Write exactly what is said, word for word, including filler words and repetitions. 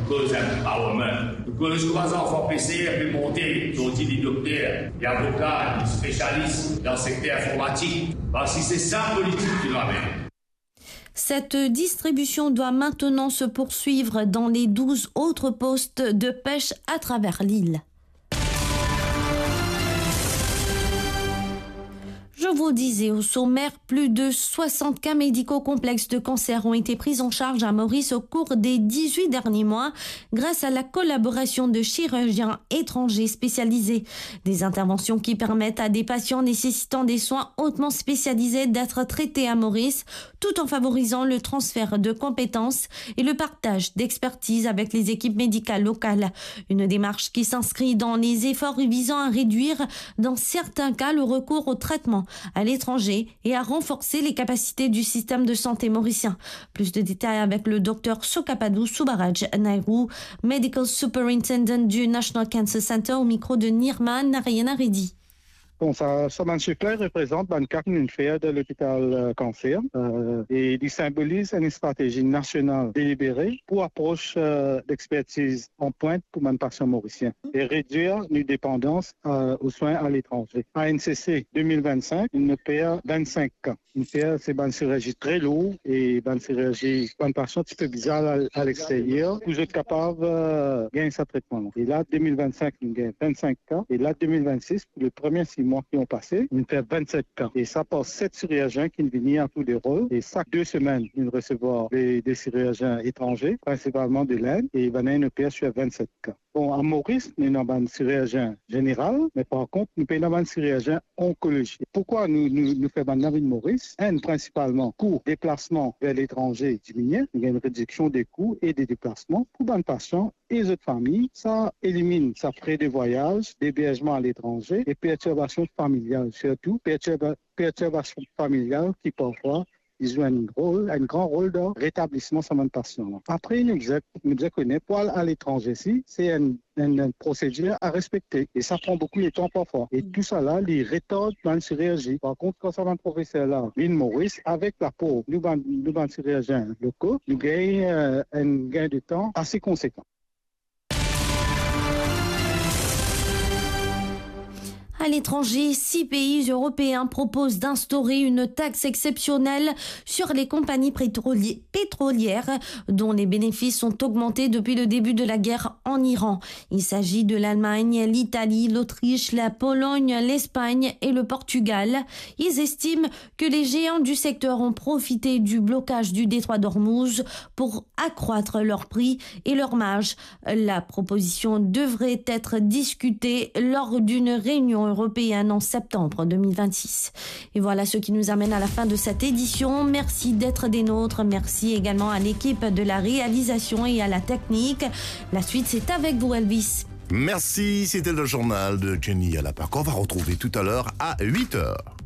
Koz empowerment. Nou koz kouma zanfan peser pe monte, zordi li dokter, li avoka, li spesialis dan sekter informatik. Parski se sa politik ki nou amenn. Cette distribution doit maintenant se poursuivre dans les douze autres postes de pêche à travers l'île. Je vous disais au sommaire, plus de soixante cas médicaux complexes de cancer ont été pris en charge à Maurice au cours des dix-huit derniers mois, grâce à la collaboration de chirurgiens étrangers spécialisés. Des interventions qui permettent à des patients nécessitant des soins hautement spécialisés d'être traités à Maurice, tout en favorisant le transfert de compétences et le partage d'expertise avec les équipes médicales locales. Une démarche qui s'inscrit dans les efforts visant à réduire, dans certains cas, le recours au traitement à l'étranger et à renforcer les capacités du système de santé mauricien. Plus de détails avec le docteur Sokapadou Subaraj Nairu, Medical Superintendent du National Cancer Center, au micro de Nirma Narayanaredi. Bon, sa, sa bann sif la reprezant bann ka ki nou fer dan lopital, euh, kanser, euh, e li sinboliz enn stratezi nasional delibere pou apros, euh, lexpertiz an pwint pou bann pasian morisien e redwir nou depandans, euh, o swin aletranze. A N C C de mil vennsenk, nou per vennsenk ka. Nou fer se bann sirurzi tre lour e bann sirurzi, bann pasian ti pe bizin al a, a lexteryer pou zot kapav, euh, gagn sa tretman la. E la, de mil vennsenk, nou gagn vennsenk ka. E la, de mil vennsis, pou le premie sis mwa ki inn pase, nou fer vennset ka. E sa par set sirizien ki vini a tour de rol. E sak de semenn, nou resevwar de, de sirizien etranze, prinsipalman de Lind, e bann la inn oper sir vennset ka. Bon, a Moris, nou ena bann sirizien zeneral, me par kont, nou pena bann sirizien onkolozi. Poukwa nou, nou, nou fer bann la vinn Moris? Enn, prinsipalman, kou deplasman ver letranze diminie, nou gagn enn rediksion de kou e de deplasman pou bann pasian e zot fami. Sa eliminn sa fre de vwayaz, deberzman aletranze e pertirbasion familial, sirtou pertirba-, pertirbasion familial ki parfwa li zwe enn rol, enn gran rol dan retablisman sa bann pasian la. Apre, nou bizin, nou bizin kone pou al aletranze si, se enn, enn, enn prosedir a respekte e sa pran boukou letan parfwa. E tousala, li retard bann sirizien. Par kont, kan sa bann profeser la vinn Moris, avek lapor nou bann, nou bann sirizien loko, nou gagn, euh, enn gagn de tan ase konsekan. À l'étranger, six pays européens proposent d'instaurer une taxe exceptionnelle sur les compagnies pétrolier-, pétrolières dont les bénéfices ont augmenté depuis le début de la guerre en Iran. Il s'agit de l'Allemagne, l'Italie, l'Autriche, la Pologne, l'Espagne et le Portugal. Ils estiment que les géants du secteur ont profité du blocage du détroit d'Ormuz pour accroître leurs prix et leurs marges. La proposition devrait être discutée lors d'une réunion européenne en septembre deux mille vingt-six. Et voilà ce qui nous amène à la fin de cette édition. Merci d'être des nôtres. Merci également à l'équipe de la réalisation et à la technique. La suite, c'est avec vous, Elvis. Merci, c'était le journal de Jenny Alapaka. On va retrouver tout à l'heure à huit heures.